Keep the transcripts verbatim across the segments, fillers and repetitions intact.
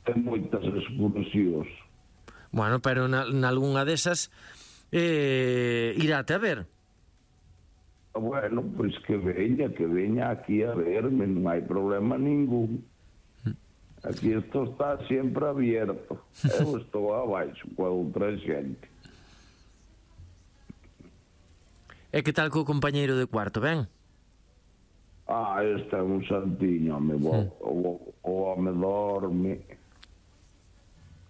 ten moitas excursións. Bueno, pero na, nalgúnha desas eh, iráte a ver. Bueno, pois que veña, que veña aquí a verme, non hai problema ningún. Aquí isto está sempre abierto. Eu estou abaixo coa outra xente. E que tal co compañeiro de cuarto, ben? Ah, este é un santiño, home, o, o, o home dorme.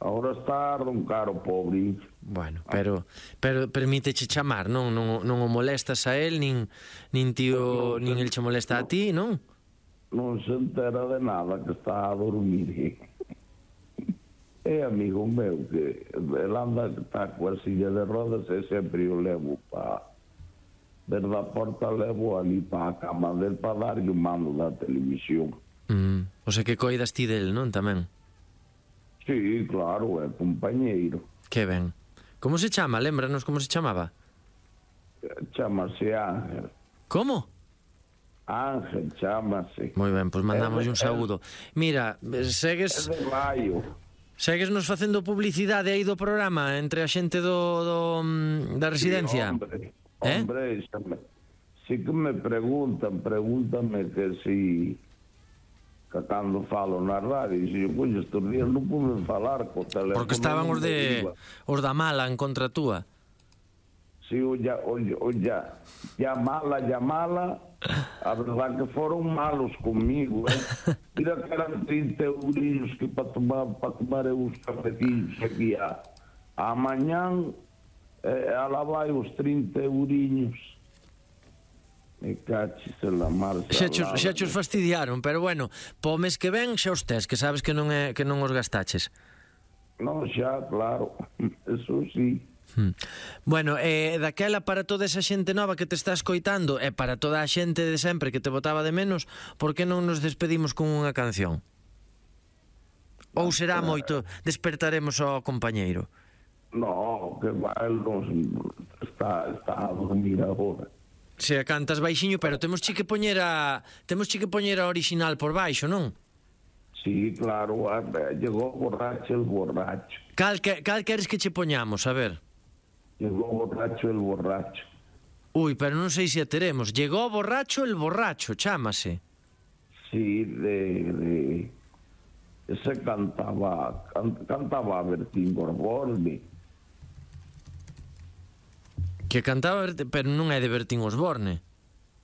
Ahora está un caro, pobrinho. Bueno, pero pero permíteche chamar, non non non o molestas a él, nin nin tío, nin el che molesta a ti, non? Non se entera de nada, que está a dormir. É amigo meu que el anda, está coa silla de rodas e sempre o levo para ver da porta, levo ali para a cama del para darlle o mando da televisión. Mm, o sea que coidas ti del, non, tamén? Sí, claro, é compañeiro. Que ben. Como se chama? Lémbranos como se chamaba? Chámase Ángel. Como? Ángel, chámase. Moi ben, pois mandamos un saúdo. Mira, segues... É de Maio. Segues nos facendo publicidade aí do programa entre a xente do, do da residencia? Sí, hombre, eh? hombre, xa me, si que me preguntan, pregúntame que si que cando falo na radio, e se eu coño estes días non pude falar co teléfono. Porque estaban os de os da mala en contra túa. Si, olla, olla, olla, llamala, llamala, a verdad que foron malos comigo, eh? Mira que eran trinta eurillos que para tomar, para tomar uns cafetillos aquí a, a mañán, eh, a la vai os trinta eurillos. Me cachis en la marcha. Xa chos, xa chos fastidiaron, pero bueno, po mes que ven xa os tes, que sabes que non é que non os gastaches. Non, xa, claro, eso sí. Hmm. Bueno, eh, daquela para toda esa xente nova que te está escoitando e para toda a xente de sempre que te botaba de menos, por que non nos despedimos con unha canción? Ou será moito, despertaremos ao compañeiro? No, que va, el non está, está a dormir agora. Se a cantas baixiño, pero temos che que poñer a temos che que poñer a original por baixo, non? Sí, claro, a, llegó borracho el borracho. Cal, que, cal queres que che poñamos, a ver? Llegó borracho el borracho. Ui, pero non sei se a teremos. Llegó borracho el borracho, chámase. Sí, de... de ese cantaba, can, cantaba Bertín Osborne. Que cantaba, pero non é de Bertín Osborne.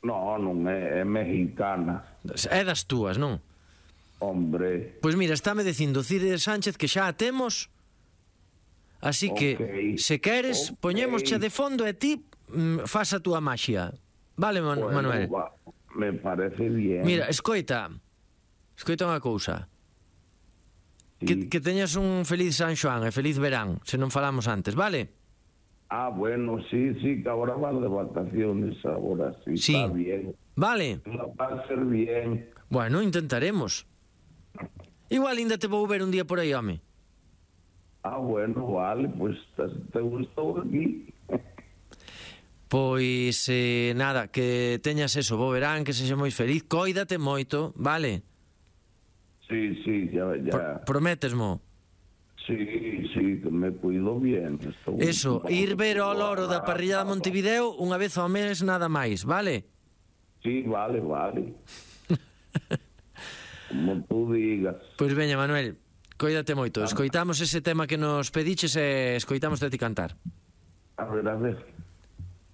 No, non é, é mexicana. É das túas, non? Hombre. Pois mira, estáme dicindo Cide Sánchez que xa a temos. Así que, okay, se queres, okay, poñémosche de fondo e ti mm, faz a túa maxia. Vale, Man bueno, Manuel? Va, me parece bien. Mira, escoita. Escoita unha cousa. Sí. Que, que teñas un feliz San Xoán e feliz verán, se non falamos antes, vale? Ah, bueno, sí, sí, que ahora van de vacaciones, ahora sí, sí. Está bien. Vale. Va a ser bien. Bueno, intentaremos. Igual ainda te vou ver un día por aí, home. Ah, bueno, vale, pues te, te gustou aquí. Pois, eh, nada, que teñas eso, bo verán, que sexa moi feliz, cóidate moito, vale? Sí, sí, ya, ya. Pro, prométesmo? Sí, sí, que me cuido bien. Estou eso, ir ver ao loro da parrilla de Montevideo unha vez ao mes nada máis, vale? Sí, vale, vale. Como tú digas. Pois veña, Manuel, cóidate moito. Escoitamos ese tema que nos pediches e escoitamos de ti cantar. A ver, a ver.